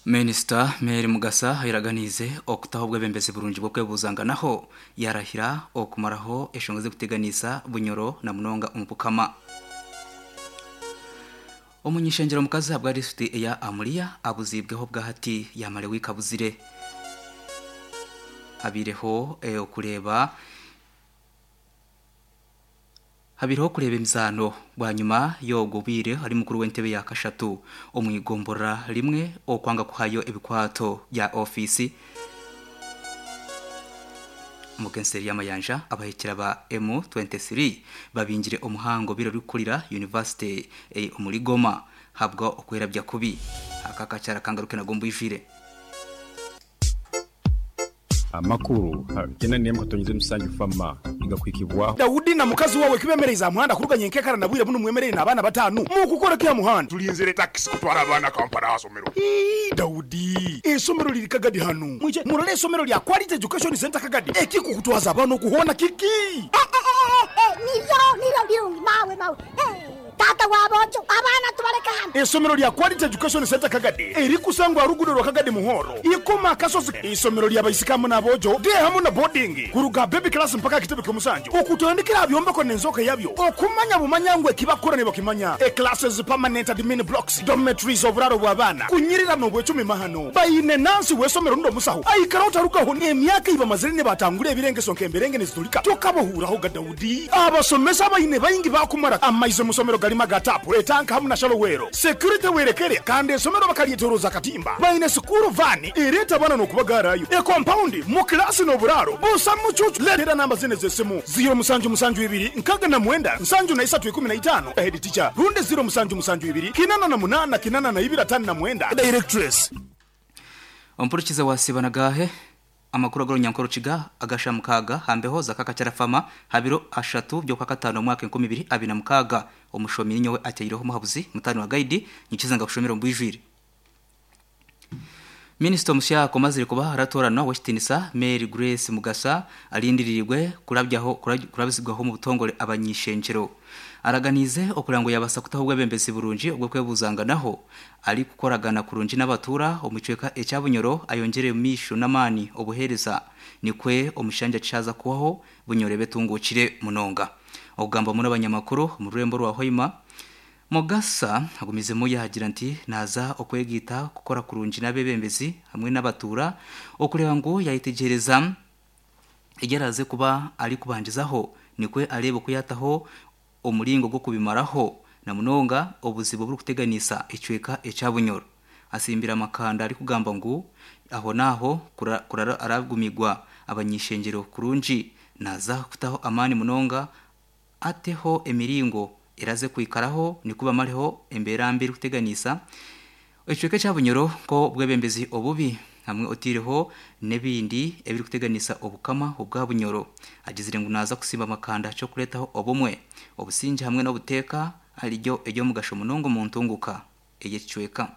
Minisita Mary Mugasa ayeraganiize okutaho obwebembezi burungi bw'okwebuzanganaho yarahira okumaraho eshonga z'okuteganiisa Bunyoro na munonga omu Bukama. Omunyishengyero omukazi ahabwa disiturikiti eya Amuria abuziibweho obwahati yamara ewiiki abuzire. Habaireho okureeba. Habaireho okureeba emizaano bwanyima y'ogwo bwire ari mukuru w'entebe ya kashatu omu igomborora rimwe okwanga kuhayo ebikwato bya ofiisi omu nseeri y'amayanja abahikira ba M23 babingire omuhango obaire orikukurira yunivasite omuri Goma habwa okwerabya kubi. Aka akakyara kangaruke nago mbwijwire. Amakuru gena n'emwe katonyize musanju fama nigakuhikibwaho. Daudi na mukazi wawe kibemereize aha muhanda kuruga nyenkekara na bwire bunu mwemereire n'abaana batanu mukukora ki aha muhanda? Tulinzire takisi kutwara abaana Kampala aha somero. Ii, Daudi, eisomero liri Kagadi hanu. Mwije murole eisomero lya Quality Education Centre Kagadi. Ekikukutwaza abaana oku hoona kiki? Eh, eh, eh, eh, nibyo, nibyo birungi mawe, mawe. Eh. Taata wa boojo, abaana tubaleke hanu. Eisomero lya Quality Education Centre Kagadi erikusangwa aha ruguudo rwa Kagadi Muhoro, Ikoma Akasozi. Eisomero lya baisiki hamu n'aboojo, day hamu na boarding, kuruga aha baby class mpaka aha kitebe ky'omusanju. Okutandikira aha byombeko n'enzooka yabyo, okumanya bumanya ngu ekibakukora nibakimanya. E Classes, permanent admin blocks, dormitories, oburaaro bw'abaana, kunyirira n'obwecumi mahano. Baine nansi w'eisomero rundi omusaho aikara otarugaho n'emyaka ei bamazire nibatangura ebirengeso nk'emberenge niziturika tokabahuuraho ga Daudi. Abasomesa abaine baingi baakumara amaizi omu somero garimu aga taapu, etanka hamu na shalowero. Security werekere kandi esomero bakaryetoroza akatimba. Baine sikuuru vaani ereeta abaana n'okubagaarayo. Ekompaundi, mu kilaasi n'oburaaro busa mucuucu. Leetera namba zinu ez'esimu, ziiro musanju musanju ibiri nkaga na mwenda nsanju na isatu ikumi na itaano, Head teacher, rundi ziiro musanju musanju ibiri kinana na munaana kinana na ibiri atano na mwenda, Directress. Ompurikize wasiiba na gaahe? Amakuru ag'orunyankore Rukiga aga shaaha mukaaga aha mbeho za Kakakyarafama aha biro ashatu by'Okwakataano omwaka 2026. Omushomi ninyowe ateireho omuhabuzi mutaani wa Gaidi nyikize ngakushomera omu bwijwire. Minisita omusya omazire kuba aratoranwa ow'ekitinisa Mary Grace Mugasa arindiriirwe kurabyaho kurabizibwaho omu butongore abany'ishengyero. Araganiize okureba ngu yabaasa kutaho obwebembezi burungi obw'okwebuzanganaho Arikukoragana kurungi n'abatuura omu kicweka ekya Bunyoro ayongyere omu maisho n'amaani obuheereza nikwe omushanja kyaza kuhwaho Bunyoro ebe etunguukire munonga. Okugamba omu n'abanyamakuru omu rurembo rwa Hoima, Mugasa agumizemu yaagira nti naaza okwegaita kukora kurungi n'abeebembezi hamwe n'abatuura okureeba ngu yayetegyereza egi araaze kuba arikubandizaho nikwe areebe oku yaataho omuringo gw'okubimaraho na munonga obuzibu oburikuteganisa ekicweka ekya Bunyoro. Asimbire amakanda arikugamba ngu aho n'aho kurara aragumigwa abany'ishengyero kurungi naaza kutaho amaani munonga ateho emiringo eraze kwikaraho nikwo bamareho embeera mbi erikuteganisa Ekicweka ekya Bunyoro nk'obwebembezi obubi hamwe oteireho n'ebindi ebirikuteganisa Obukama obwa Bunyoro. Agizire ngu naaza kusimba amakanda ky'okureetaho obumwe, obusingye hamwe n'obuteeka ariryo ery'omugasho munonga omu ntunguka ey'ekicweka.